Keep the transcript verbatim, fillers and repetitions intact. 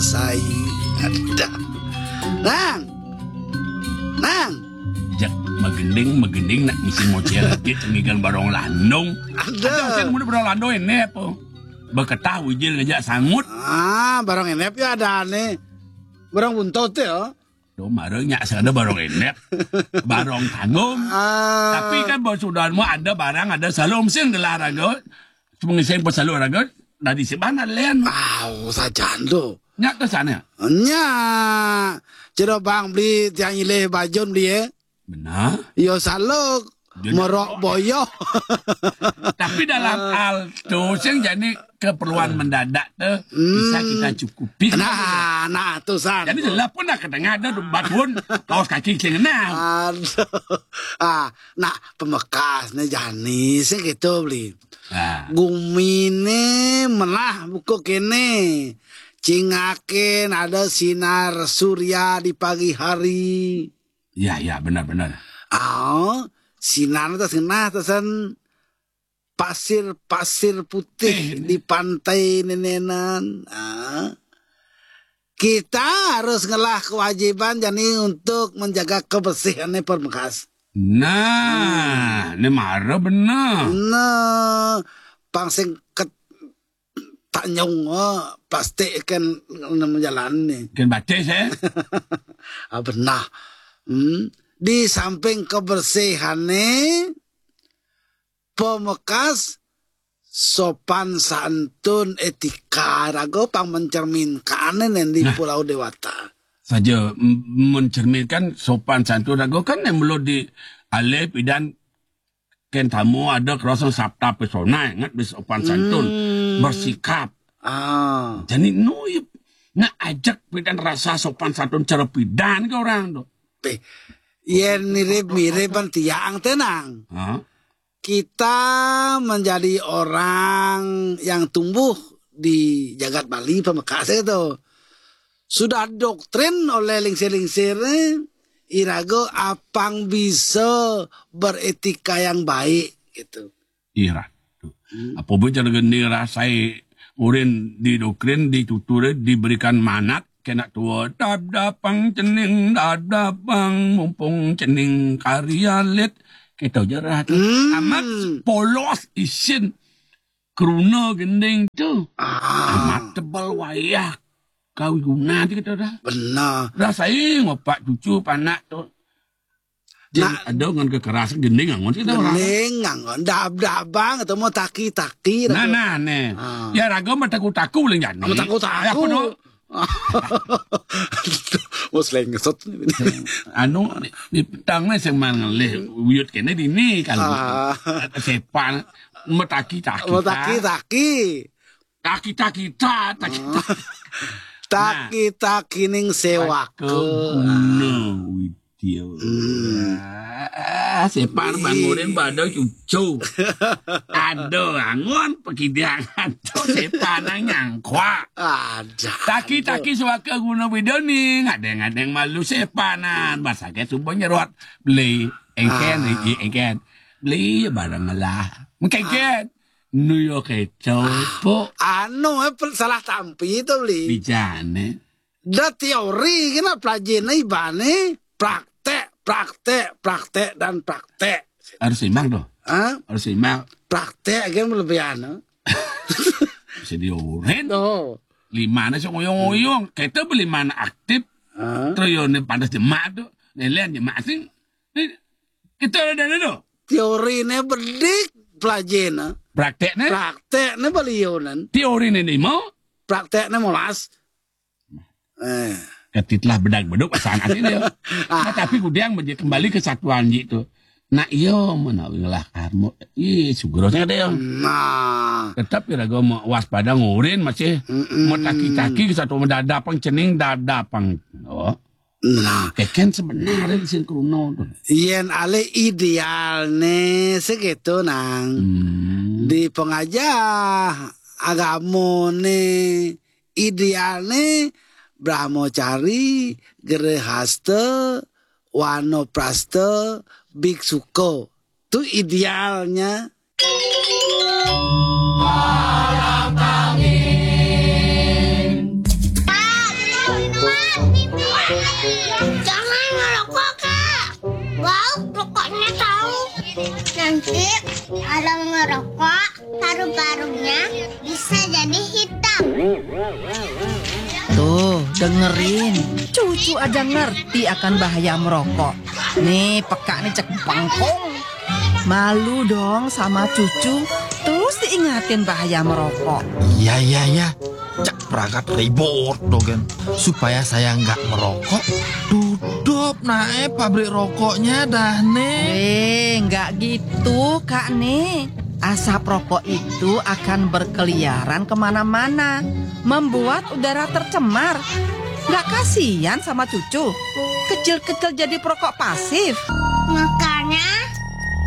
Sai. Ada. Nang. Nang. Jak magending, magending nak ngisi mocel lagi, cengigan barong landung. Ada. Ada sih, mun barong landung ini apa? Beketah wijil ngejak sangut. Ah, barong ini ya ada nih. Barong buntut ya. Tuh, mara nyak sada barong enek. Barong tanggung. Ah. Tapi kan bos sudah mau ada barang, ada salum sing gelar raga. Cuma ngising pas salum raga, dari si mana len? Au, sajan tu. Nyak ke sana. Nya. Ciro bang beli tiang ilih bajun beli, eh. Benar. Yo saluk. Dia merok boyoh. Tapi dalam hal tu, sing jadi keperluan mendadak tu, bisa kita cukupi. Nah, nah, tu san. Jadi jelas pun dah ketengah ada batun, kaos kaki sing enam. Aduh. Ah, nah, pemekas ni jani sing gitu beli. Nah. Gumi ni melah buku kene. Cingakin ada sinar surya di pagi hari. Ya, ya, benar, benar. Ah, sinar tu senah tasan pasir-pasir putih di pantai nenenan. Ah. Kita harus ngelah kewajiban jani untuk menjaga kebersihan ni permekas. Nah, ni mara benar. Nah, pang sing ket-, tanyung, oh, plastik kan nama jalan ni. Kan batis, eh? Ah, benar. Hmm. Di samping kebersihan ni, pemekas sopan santun etika raga pang mencerminkan ni di Pulau Dewata. Saja m-, mencerminkan sopan santun raga kan yang perlu di alih pidan ken tamu ada kerasa sabta pesona ingat di sopan santun bersikap. Ah. Jadi nu nak ajak pidan rasa sopan santun cara pidan ke orang tu. Yen mirip-mirip kan tiang tenang. Ha? Kita menjadi orang yang tumbuh di jagat Bali pemekas itu. Sudah doktrin oleh lingsir-lingsir ni, iraga apang bisa beretika yang baik gitu. Ira. Hmm. Apa pun cara geni rasai urin di doktrin, di tutur, diberikan manat, kena tua, dap dapang cening, dap dapang mumpung cening karya lit. Kita jerah tu. Hmm. Amat polos isin keruna gending tu. Ah. Amat tebal wayah kawiguna tu kita dah. Benar. Rasai ngopak cucu panak tu. Jadi ada ngan kekeras gending angon kita orang. Gending angon. Dab-dabang atau mau taki-taki. Nah, nah, ne. Ah. Ya raga mau taku-taku leng jani. Mau taku-taku. Ya, aku tu. Bos lengsot ni. Anu, di petang ni sing man ngelih wiyut kene dini kalau. Ah. Sepan metaki-taki. Metaki-taki. Taki-taki ta, taki-taki. Taki-taki ning sewaka. Guna widya. Hmm. Ah, sepan bangunin pada cucu. Ada angon pekidangan tu sepan nang nyangkwa. Ada. Taki-taki suaka guna bidoni, ngadeng-ngadeng malu sepanan. Basake subuh nyerot. Beli engken, ah. Engken. Beli barang lah. Engken. Nu yo keco, ah. Po. Anu, eh, pel-, salah tampi tu beli. Bijane. Da teori kena pelajin ibane praktek, praktek, praktek dan praktek. Harus simak tu. Ha? Harus simak. Praktek kan lebih anu. Bisa dioren. Oh. Lima na sing oyong-oyong. Kita beli mana aktif. Ha? Terus yo ni panas jemak tu. Nelen jemak sing. Ni kita ada dulu. Teori ni bedik pelajin. Praktek ni? Praktek ni beliau nan. Teori ni lima. Praktek ni molas. Eh. Ketitlah bedag beduk asal nanti dia. Ah. Nah, tapi kudiang beje kembali ke satuan ji tu. Nak iyo menawi ngelah karmo. Ih, sugro sangat dia. Nah. Tetap kira gua mau waspada ngurin masih. Mm-mm. Mau taki-taki ke satu mendadak pang cening dadak pang. Oh. Nah. Keken sebenarnya di sini kruna tu. Yen alih ideal ni segitu nang. Hmm. Di pengajah agama ni ideal ni brahmacari, gerehasta, wanaprasta, biksuka. Tu idealnya. Palang Tangin. Dengerin, cucu aja ngerti akan bahaya merokok. Nih, peka nih cek bengkong. Malu dong sama cucu, terus diingatin bahaya merokok. Iya, iya, iya. Cek perangkat ribut dogen. Supaya saya nggak merokok, tutup nae pabrik rokoknya dah nih. Eh, nggak gitu, Kak nih. Asap rokok itu akan berkeliaran kemana-mana, membuat udara tercemar. Nggak kasihan sama cucu? Kecil-kecil jadi perokok pasif. Maka